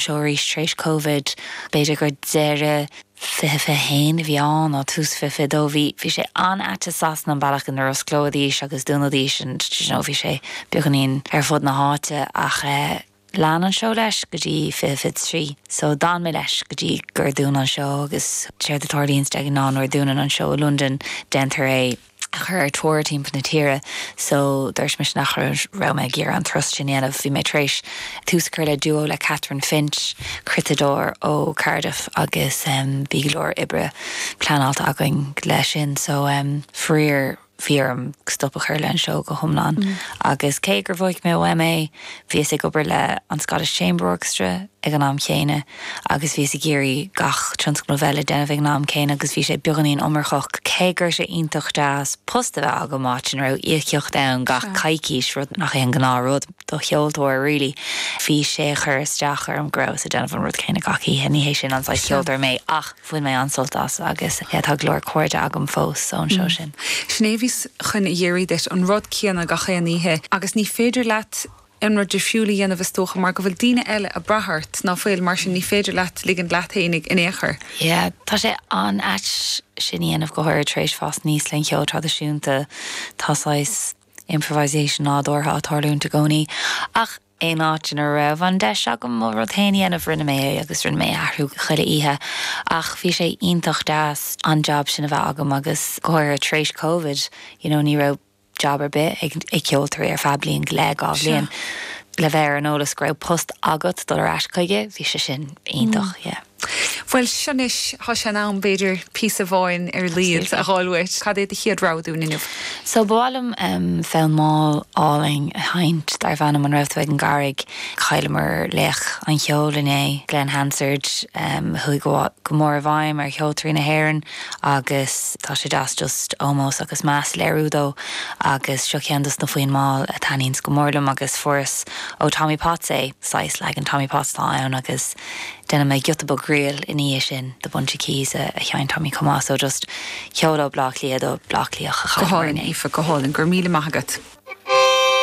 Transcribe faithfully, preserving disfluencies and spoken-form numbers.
seó arís tar éis Covid b'fhéidir gur deireadh fiche fiche haon a bhí ann nó tús fiche fiche dó bhí bhí sé an-ait i Sasana an bealach inar osclaíodís agus dúnaidís and you know, bhí sé beagáinín ar fud na háite ach eh, lean an seó leis go dtí fiche fiche trí. So d'fhan mé leis go dtí gur dúnadh an seó agus séard a tharlaíonn ag ná nuair a dúnann an seó i London déantar é a chur ar tour timpeall na tíre, so dúirt mise nach raibh mé ag iarraidh an turas sin a dhéanamh bhí mé tar éis tús a chur le duo le Catherine Finch, cruiteadóir ó Cardiff agus um, bhí go leor oibre pleanáilte againn leis sin, so um, fríor bhí orm stop a chur le an seó go hiomlán. Mm. Agus cé gur bhuaigh mé O M A bhíos ag obair le an Scottish Chamber Orchestra ag an am chéanna agus bhíos ag iarraidh gach tionscnamh eile déanamh ag an am céanna agus bhí sé beagáinín iomarcach cé gur sé iontach deas post a bheith agam áit ina raibh íocaíocht ann gach coicís rud nach é an gnáthrud do cheoltóir really. Bhí sé chur isteach orm go rabhas ag déanamh an rud céanna gach oíche ní hé sin an saghas ceoltóir mé ach bhain mé an-sult as agus tá go leor cairde agam fós ón seó sin. Sin é bhíos chun a iarraidh duit an rud céanna gach aon oíche agus ní féidir leat an rud difriúil a dhéanamh is dócha mar go bhfuil daoine eile ag brath ort nach bhfuil mar sin ní féidir leat ligean leat féinig in aon chor. Yeah, tá sé an-ait sin a dhéanamh go háirithe tar éis fás aníos le ceol traidisiúnta tá saghas improvisation nádúrtha ag tarlúint i gcónaí. Ach aon áit ina raibh an deis agam mo rud féin a dhéanamh rinne mé é agus rinne mé athrú chuile oíche ach bhí sé iontach deas an job sin a bheith agam agus go háirithe tar éis COVID, you know, ní raibh job ar bith ag ag ceoltóirí ar feadh bliain go leith dhá bhliain. Le bheith ar an eolas go raibh post agat dul ar ais chuige, bhí sé sin iontach, mm. yeah. Well anois tá sé in am b'fhéidir píosa amháin ar a laghad a fháil uait cad é do chéad rogha dúinn inniu. So b'áil liom um, fonn mall álainn a sheinnt darb ainm An Raibh Tú ag an gCarraig chailleamar laoch an cheoil inné Glen Hansard um, chuaigh go go mór i bhfeidhm ar cheoltóirí na hÉireann agus tá sé deas just ómós agus meas a léiriú dó agus seo ceann dos na foinn mall a thaitníonns go mór liom agus fuaireas ó Tommy Potts é saghas leagan Tommy Potts tá ann agus déanfaidh mé giota beag ríl ina dhiaidh sin the Bunch of Keys a, a sheinn Tommy chomh maith so just ceol ó Bleá Cliath do Bleá Cliath a Go hálainn Aoife go hálainn go raibh míle maith agat.